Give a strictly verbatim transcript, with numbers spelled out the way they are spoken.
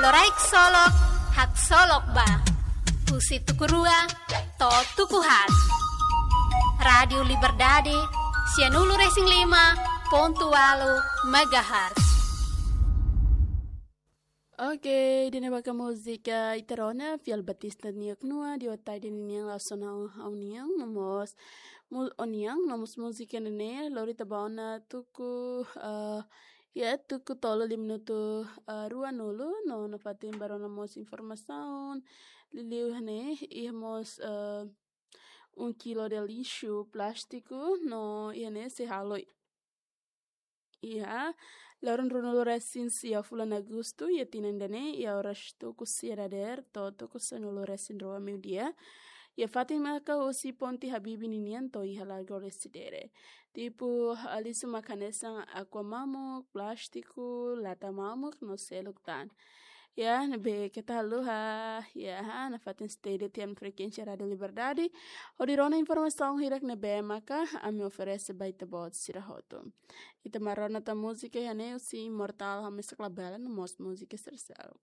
Loraik Solok, Haksolok Ba. Husi tuku rua to'o tuku haat. Rádiu Liberdade, sianulu-resin-lima pontu ualu megahertz. Oke, ida-ne'e maka múzika ita rona Fiel Batista nia knua di otai di ninian la sona aunian nomós mu-, onian nomós múzika ne'e lori ita ba ona tuku, eh, ya, tuku tolu lima minutu, eh, ruanulu, no nafatin ba rona mós informasaun liuliu iha ne'e, iha mós, eh, um quilo de lixo plástico, no iha ne'e sei halo. Iha loron ruanulu-resin-sia fulan Agostu, iha tinan ida-ne'e, iha oras tuku sia dadeer to'o tuku sanulu-resin-rua meiudia. Iha fatin maka husi Ponte Habibie ninian to'o iha Largo Lecidere. Tipu, ah, lixu maka hanesan aqua mamuk, plástiku, lata mamuk, no seluk tan. Ya, ne'ebé keta haluha, ya, nafatin stay di tian frekuénsia Rádiu Liberdade. Hodi rona informasaun hirak ne'ebé maka ami oferese ba ita-boot sira hotu. Ita mai rona tan múzika iha ne'e husi Imortal Hamisa Klabela nomós múzika Sercel.